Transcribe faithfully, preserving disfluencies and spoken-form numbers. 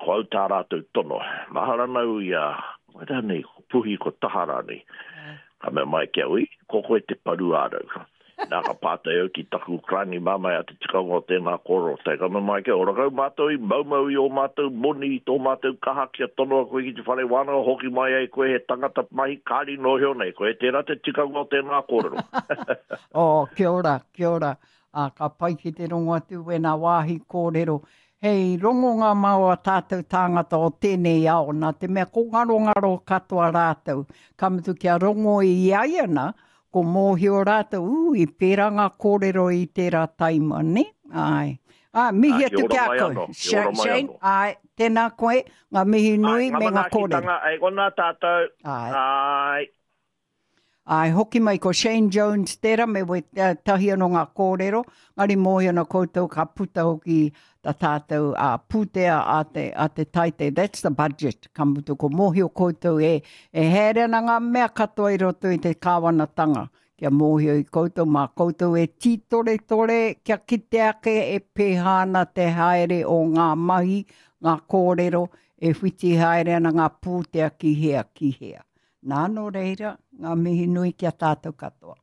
Ko au tā rātou tono. Mahara ana au i a, wai rānei, ko Puhi, ko Taha rānei. Ka mea mai ki a au, ko koe te paru ārau. Nā ka pātai au ki taku karani māmā a te tikanga o tēnā kōrero. Tai ka mea mai ki a ora kau mātou i maumau i ō mātou moni, i tō mātou kaha kia tonoa koe ki te whare wānanga, hoki mai ai koe he tangata mahi kāri nōhio nei koe. Tērā te tikanga o tēnā kōrero. Oh, kia ora, kia ora. Ā, ka pai ki te rongo atu wēnā wāhi kōrero. Hei rongonga mā ō tātou tāngata o tēnei ao, nā te mea ko ngarongaro katoa rātou. Ka mutu kia rongo i a ia nā, ko mōhio rātou, ū, i pērā ngā kōrero i tērā taima, nē? Āe. Ā, mihi atu ki a koe. Shane, āe, tēnā koe, ngā mihi nui me ngā kōrero. Āe, ngā manaakitanga, e kona tātou. Āe. Āe. Āe, hoki mai ko Shane Jones tērā me wētahi anō ngā kōrero, engari mōhio ana koutou ka puta hoki tā tātou uh, pūtea a te, a te taite, that's the budget, ka mutu ko mōhio koutou e, e haere ana ngā mea katoa i roto i te kāwanatanga, kia mōhio i koutou, mā koutou e tītoretore, kia kite ake e pēhā ana te haere o ngā mahi, ngā kōrero, e whiti haere ana ngā pūtea ki hea, ki hea. Nā, nō reira, ngā mihi nui ki a tātou katoa.